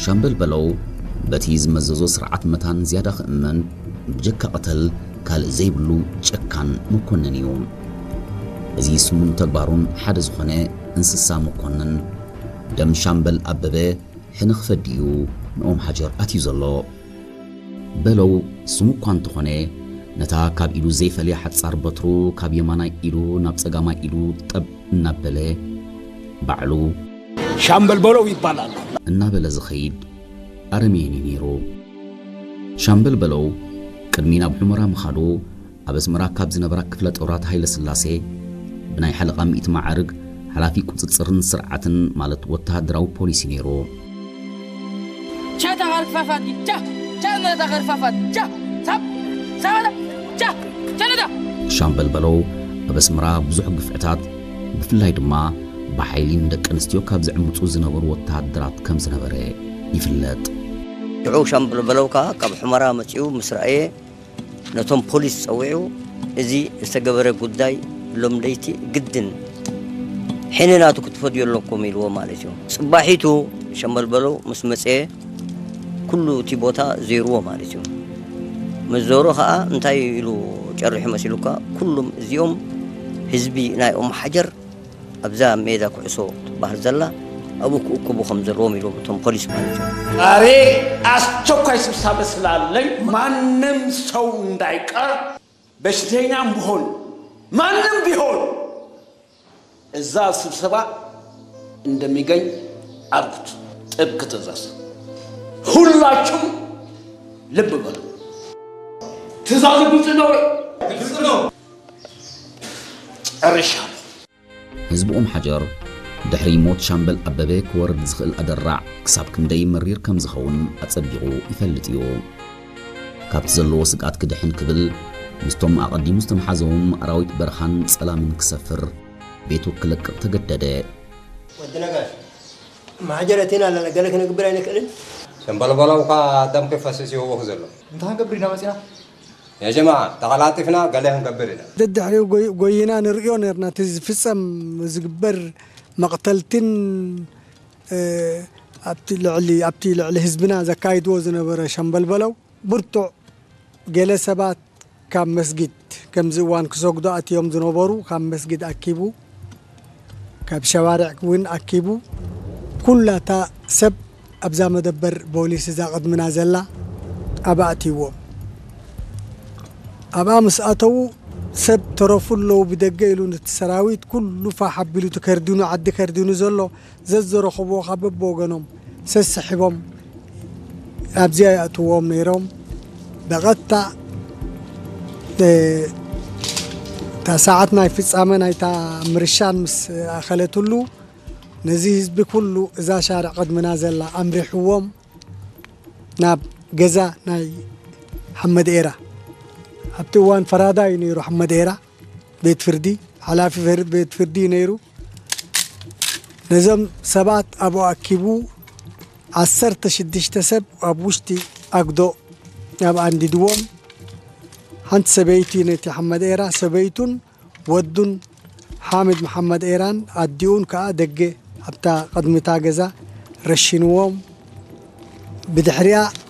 ሻምበል በለው በቲ ዝመዘዞ ስርዓት መታን ዝያዳ ክእመን፣ ብጀካ ቅተል ካልእ ዘይብሉ ጨካን መኮንን እዩ። እዚ ስሙን ተግባሩን ሓደ ዝኾነ እንስሳ መኮንን፣ ደም ሻምበል ኣበበ ሕነ ክፈዲ እዩ ንኦም ሓጀር ኣትዩ ዘሎ። በለው ስሙ እኳ እንተኾነ፣ ነታ ካብ ኢዱ ዘይፈልያ ሓጻር በትሩ ካብ የማናይ ኢዱ ናብ ጸጋማይ ኢዱ ጠብ እናበለ፣ ባዕሉ ሻምበል በለው ይባላል። እናበለ ዝኸይድ ኣረሜን እዩ ነይሩ። ሻምበል በለው ቅድሚ ናብ ሑመራ ምኻዱ፣ ኣብ ኣስመራ ካብ ዝነበራ ክፍለ ጦራት ሃይለ ስላሴ ብናይ ሓለቓ ሚእቲ ማዕርግ ሓላፊ ቁጽጽርን ስርዓትን፣ ማለት ወተሃደራዊ ፖሊሲ ነይሩ። ቻ ተኸርፋፋት፣ ቻ፣ ቻ ነታ ኸርፋፋት፣ ቻ፣ ሳብ፣ ሳባታ፣ ቻ፣ ቻ ነታ። ሻምበል በለው ኣብ ኣስመራ ብዙሕ ግፍዕታት፣ ብፍላይ ድማ ብሓይሊ ንደቂ ኣንስትዮ ካብ ዝዕምጹ ዝነበሩ ወተሃደራት ከም ዝነበረ ይፍለጥ። ሽዑ ሻምበል በለው ከኣ ካብ ሑመራ መጺኡ ምስ ረኣየ፣ ነቶም ፖሊስ ጸዊዑ፣ "እዚ ዝተገበረ ጉዳይ ሎም ለይቲ ግድን ሕነ ናቱ ክትፈድዩ ኣለኩም" ኢልዎ ማለት እዩ። ጽባሒቱ ሻምበል በለው ምስ መጸ፣ ኩሉ እቲ ቦታ ዜርዎ ማለት እዩ። ምስ ዞሮ ከኣ እንታይ ኢሉ ጨሪሑ መሲሉካ፣ "ኩሉም እዚኦም ህዝቢ ናይ ኦም ሓጀር ኣብዛ ሜዳ ኩዕሶ ትበሃል ዘላ ኣብኡ ክእክቡ ከም ዘለዎም" ኢልዎም እቶም ፖሊስ ማለት እዩ። ዛሬ አስቸኳይ ስብሰባ ስላለኝ ማንም ሰው እንዳይቀር፣ በሽተኛም ቢሆን ማንም ቢሆን እዛ ስብሰባ እንደሚገኝ አድርጉት። ጥብቅ ትእዛዝ። ሁላችሁም ልብ በሉ። ትእዛዙ ግልጽ ነው ወይ? ግልጽ ነው። ጨርሻለሁ። ህዝቢ ኦም ሓጀር ድሕሪ ሞት ሻምበል ኣበበ ክወርድ ዝኽእል ኣደራዕ ክሳብ ክንደይ መሪር ከም ዝኸውን ኣጸቢቑ ይፈልጥ እዩ። ካብቲ ዘለዎ ስግኣት ክድሕን ክብል ምስቶም ኣቐዲሙ ዝተመሓዘዎም ኣራዊት በረኻን ጸላምን ክሰፍር፣ ቤቱ ክለቅቕ ተገደደ። ወዲ ነጋሽ፣ ማሕጀር ኣቲና ኣለና፣ ገለ ክነግብር ኣይንክእልን? ሸምበልበለው እኳ ደም ክፈስስ ይህወኽ ዘሎ። እንታይ ክንገብር ኢና መጺና? ያ ጀማዓ፣ ተቐላጢፍና ገለ ክንገብር ኢና። ደድሕሪኡ ጎይ-፣ ጎይና ንርእዮ ነርና፣ እቲ ዝፍጸም ዝግበር መቕተልትን፣ እ፣ ኣብቲ ልዕሊ፣ ኣብቲ ልዕሊ ህዝብና ዘካይድዎ ዝነበረ ሸምበልበለው ብርቱዕ፣ ገለ ሰባት ካብ መስጊድ፣ ከምዚ እዋን ክሰግዱ ኣትዮም ዝነበሩ፣ ካብ መስጊድ ኣኪቡ፣ ካብ ሸዋርዕ እውን ኣኪቡ፣ ኩላታ ሰብ ኣብዛ መደበር ፖሊስ እዛ ቅድምና ዘላ ኣብኣ ኣትይዎም። ኣብኣ ምስ ኣተዉ፣ ሰብ ተረፉ ኣለዉ ብደገ ኢሉ፣ ነቲ ሰራዊት ኩሉ ፋሕ ኣቢሉ፣ እቲ ከርዲኑ፣ ዓዲ ከርዲኑ ዘሎ ዘዘረኸብዎ ካብ በብወገኖም ሰስሒቦም ኣብዚኣ ይኣትዎም ነይሮም። በቐጥታ፣ እ፣ እታ ሰዓት ናይ ፍጻመ ናይታ ምርሻን ምስ ኣኸለትሉ፣ ነዚ ህዝቢ ኩሉ እዛ ሻርዕ ቅድምና ዘላ ኣምሪሕዎም ናብ ገዛ ናይ ሓመድ ኤራ። ኣብቲ እዋን ፈራዳይ እዩ ነይሩ ሓመድ ኤራ፣ ቤት ፍርዲ፣ ሓላፊ ፈር-፣ ቤት ፍርዲ እዩ ነይሩ። ነዞም ሰባት ኣብኡ ኣኪቡ፣ ዓሰርተ ሽዱሽተ ሰብ ኣብ ውሽጢ ኣግዶ ኣብ ኣንዲድዎም። ሓንቲ ሰበይቲ ነቲ ሓመድ ኤራ፣ ሰበይቱን ወዱን ሓሚድ መሓመድ ኤራን ኣዲኡን ከኣ ደገ ኣብታ ቅድሚታ ገዛ ረሺንዎም። ብድሕሪኣ